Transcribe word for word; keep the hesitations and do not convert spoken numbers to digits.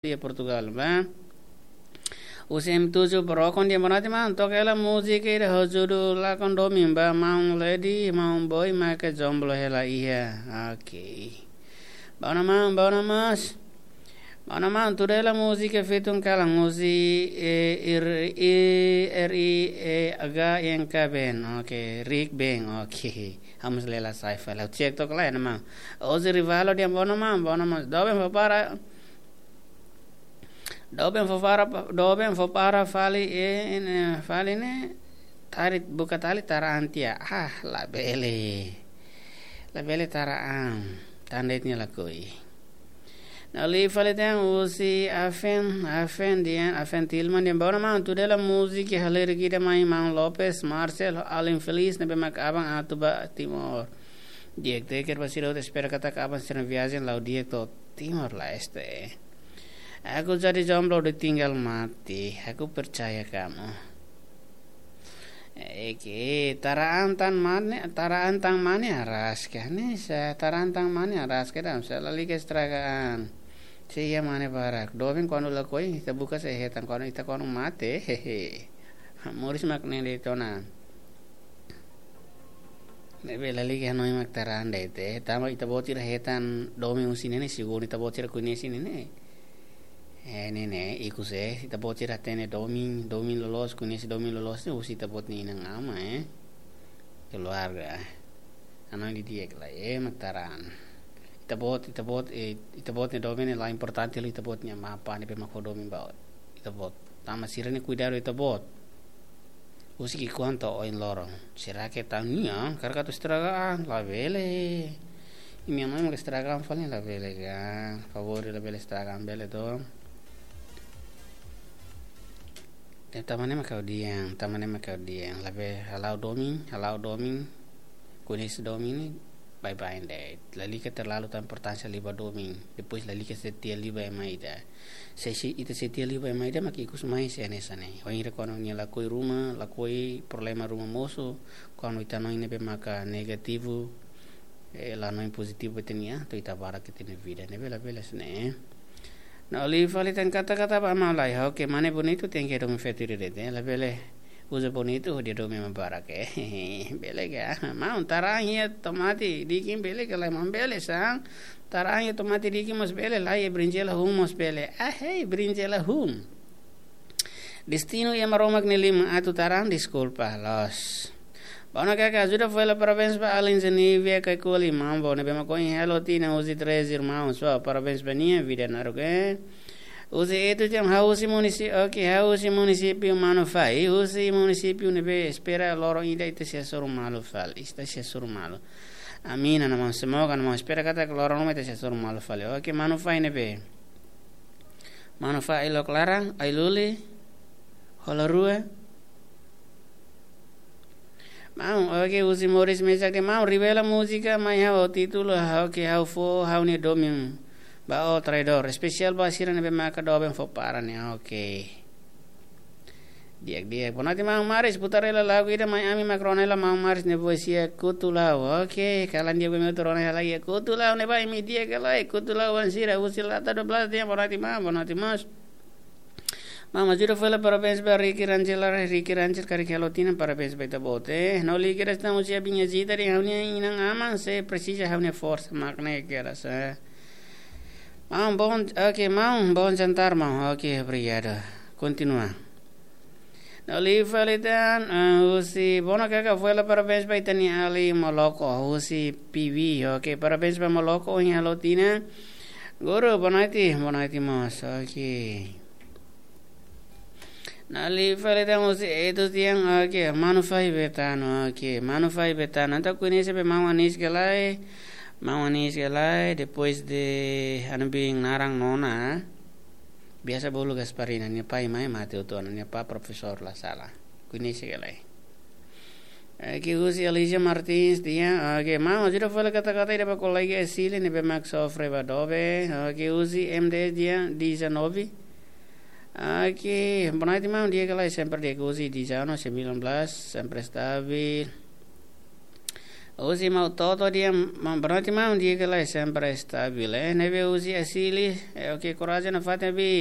iha Portugal, ba. Husi M tujuh Brokon, di'ak, boa noite maun. Toka hela múzika ida ho judul Lakon Domin ba maun Lady, maun Boy, maka jomblo hela iha. Oke. Boa noite maun, boa noite maun. Boa noite maun, tuda hela múzika Fetun Kalan, husi, eh, R I, R I E H N K Band. Oke, Rick Band. Oke. Vamos lela sai fala. Check tok lai, maun. Husi Rivalo, di'ak, boa noite maun, boa noite maun. Doben fó para Doben fó para, doben fó para fali, eh, ne'e, fali ne'e, tari buka tali tara an tiha. Ah, labele. Labele tara an. Tan de'it nia lakohi. Na'in-lima fali tan husi Afen, Afen di'ak, Afen Tilman di'ak, boa noite maun, tuda hela múzika halerik ida mai maun Lopes, Marcel, Alin Feliz, ne'ebé mak aban atu ba Timor. Di'ak, di'ak, keta ba sira hotu, espera katak aban sira-nia viajen la'o di'ak to'o Timor-Leste. Aku jadi jomblo ditinggal mati, aku percaya kamu. Eke, tara an tan mane, tara an tan mane araska. Ne'e sa, tara an tan mane araska, dam, sa lalika estraga an. Sei iha mane barak. Doben kuandu lakohi, ita buka sei hetan, kuandu ita kuandu mate, hehe. Moris mak ne'e de'it ona. Ne'ebé lalika hanoin mak tara an de'it. Tanba ita-boot sira hetan domin husi ne'e ne'e, segundu ita-boot sira koñese ne'e ne'e. Eh, ne'e ne'e, ikus, eh, ita-boot sira hatene domin, domin loloos, koñese domin loloos ne'e husi ita-boot nia inan-aman, eh. Keluarga. Hanoin didi'ak lai, eh, mak tara an. Ita-boot, ita-boot, eh, ita-boot nia domin ne'e la importante hela ita-boot nia mapa ne'ebé mak fó domin ba ita-boot. Tanba sira ne'e kuidadu ita-boot. Husi ki'ikoan to'o oin loron. Será que tan nia, karik atu estraga an, labele. Imi-nia mãe mak estraga an fali, labele ka. Favór, labele estraga an, bele to. Tanba ne'e mak ha'u dehan, tanba ne'e mak ha'u dehan. Labele hala'o domin, hala'o domin. Koñese domin ne'e, bye-bye de'it. Lalika terlalu tau importánsia liu ba domin. Depois lalika setia liu ba ema ida. Se, se ita setia liu ba ema ida, mak ikus mai sei hanesan ne'e. Wainhira kuandu nia lakohi ruma, lakohi problema ruma mosu, kuandu ita hanoin ne'ebé maka negativu, eh, la hanoin pozitivu ba ita-nia an, to'o ita barak ita-nia vida. Ne'ebé labele hanesan ne'e. Na'in-lima fali tan kata-kata ba maun lai. Oke, mane bonitu tenke domin feto ida de'it, eh. Labele uza bonitu hodi domin ema barak, eh. Bele ka. Maun, tara an iha tomate dikin bele ka lae, maun? Bele, sang. Tara an iha tomate dikin mós bele, lae, brinjela hun mós bele. Ah, hei, brinjela hun. Destinu iha Maromak nia liman, atu tara an, deskulpa, loos. Boa noite kaka, ajuda fó hela parabéns ba Alin Zenivia Kaikoli, maun, boa noite, ne'ebé mak ohin halo tinan husi Três Irmãos. Wah, parabéns ba nia, vida naruk, eh. Husi Etu Jam, ha'u husi munisi-, oke, ha'u husi munisípiu Manufai, husi munisípiu ne'ebé espera loron ida ita sei hasoru malu fali, ita sei hasoru malu. Amin, ana maun, semoga, ana maun, espera katak loron ruma ita sei hasoru malu fali. Oke, Manufai ne'ebé? Manufai Ailok Laran, Ailuli, Hola Rua. Maun, oke, husi Moris Mesak dehan, maun, revela múzika mai ha'u, títulu, oke, ha'u fó ha'u-nia domin ba ó, Traidór. Espesiál ba sira ne'ebé maka doben fó para ne'e, oke. Di'ak, di'ak. Boa noite, maun Maris, putar hela lagu ida mai ami mak rona hela maun Maris nia voz iha Kutu La'o. Oke, kalan di'ak, imi hotu rona hela iha Kutu La'o ne'ebá, imi di'ak ka lae, Kutu La'o wan sira, husi Lata dua belas dehan, boa noite maun, boa noite mós. Maun, ajuda fó hela parabéns ba Ricky Rangel, Ricky Rangel karik halo tinan, parabéns ba ita-boot, eh. No lagi kira estamos ya binya jita di ha'u-nia inan-aman, sei presiza ha'u-nia forsa, mak ne'e kedas, eh. Maun, bom, oke, maun, bom jantar, maun. Oke, obrigadu. Kontinua. Na'in-lima fali tan, eh, husi, boa noite kaka, fó hela parabéns ba ita-nia alin Moloko, husi Pibi, oke, parabéns ba Moloko, ohin halo tinan. Guru, boa noite, boa noite mós, oke. Na'in-lima fali tan husi Etu Tian, oke, Manufai Betano, oke, Manufai Betano. Entaun koñese be maun Anis ka lae, maun Anis ka lae, depois de anu bin naran nona. Biasa bolu Gasparina, nia pai mai mate hotu ona, nia pai profesór la sala. Koñese ka lae. Oke, husi Alicia Martins dehan, oke, maun, ajuda fó hela kata-kata ida ba kolega Esili ne'ebé mak sofre ba doben. Oke, husi M D S dehan, dezanove. Oke, boa noite, maun, di'ak ka lae, sempre di'ak, husi dezanove, sembilan belas, sempre stabil. Husi mau toto dia, mambroti mam dia ke lai sempre estabil, eh, ne'ebé husi asili, eh, oke, korajen na fatin bi,